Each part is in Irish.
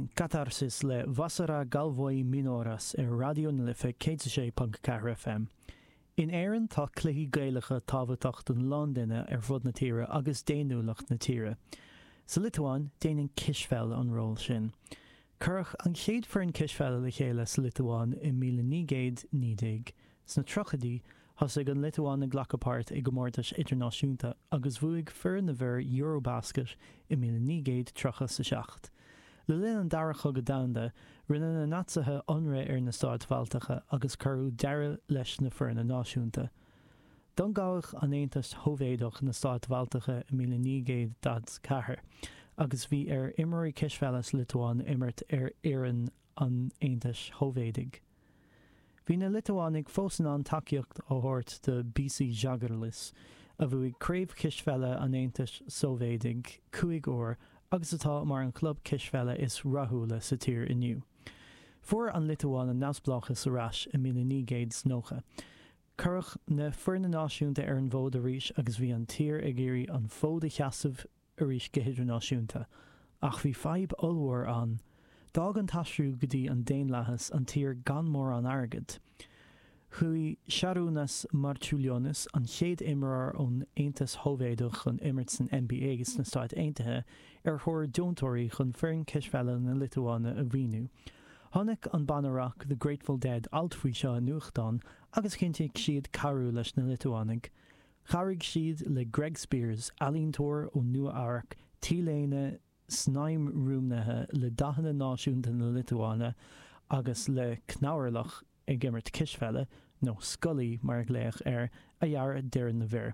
Sin Katarsis le Vasara Galvoj Minoras ar Raidió na Life 106.4 FM. In Éirinn tá cluichí Gaelacha tábhachtach don lán duine ar fud na tíre agus d'fhéiniúlacht na tíre. Sa Liotuáin, déanann cispheil an ról sin. Cuireadh an chéad foireann cispheile le chéile sa Liotuáin i 1919. Sna tríochaidí, thosaigh an Liotuáin ag glacadh páirt i gcomórtais idirnáisiúnta agus bhuaigh foireann na bhfear Eurobasket i 1937. Le linn an Dara Chogadh Domhanda, rinne na Naitsithe ionradh ar na Stáit Bhaltacha agus cuireadh deireadh leis na foirne náisiúnta. D'ionghabhadh an Aontas Shóivéadach na Stáit Bhaltacha i 1944 agus bhí ar imreoirí cispheile sa Liotuáin imirt ar fhoireann an Aontais Shóivéadaigh. Bhí na Liotuánaigh fós in ann tacaíocht a thabhairt do BC Žalgiris, a bhuaigh Craobh Chispheile an Aontais Shóivéadaigh 5 uair agus atá mar an chlub cispheile is rathúla sa tír inniu. Fuair an Liotuáin a neamhspleáchas ar ais i 1990. Cuireadh na foirne náisiúnta ar an bhfód arís agus bhí an tír ag iarraidh an fód a sheasamh arís go hidirnáisiúnta. Ach bhí fadhb ollmhór ann. D'fhág an t-aistriú go dtí an daonlathas an tír gan mórán airgid. Chuaigh Šarūnas Marčiulionis, an chéad imreoir ón Aontas Shóivéadach chun imirt san NBA sna Stáit Aontaithe, ar thóir deontóirí chun foireann cispheile na Liotuáine a mhaoiniú. Chonaic an banna rac The Grateful Dead alt faoi seo i nuachtán agus chinntigh siad cabhrú leis na Liotuánaigh. Chabhraigh siad le Greg Spears, ealaíontóir ó Nua Eabhrac, T-léine snaidhm-ruaimnithe le dathanna náisiúnta na Liotuáine agus le cnamhairleach ag imirt cispheile, nó scully mar a glaodh air, a dhearadh d'fhoireann na bhfear.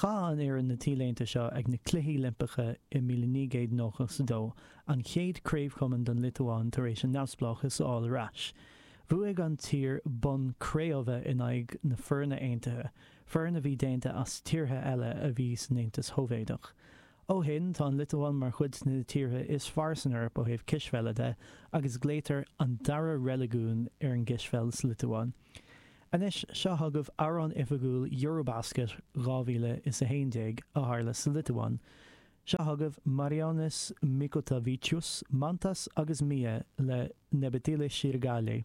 Chaith an fhoireann na T-léinte seo ag na Cluichí Oilimpeacha i 1992, an chéad craobh-chumann don Liotuáin tar éis a neamhspleáchas a fháil ar ais. Bhuaigh an tír bonn cré-umha in aghaidh na Foirne Aontaithe, foireann a bhí déanta as tíortha eile a bhí san Aontas Shóivéadach. Ó shin, tá an Liotuáin mar chuid de na tíortha is fearr san Eoraip ó thaobh cispheile de, agus glaotar an dara reiligiún ar an gcispheil sa Liotuáin. Anois, seo chugaibh amhrán oifigiúil Eurobasket 2011 a tharla sa Liotuáin. Seo chugaibh Marijonas Mikutavičius, Mantas agus Mia le Nebetyli Sirgaliai.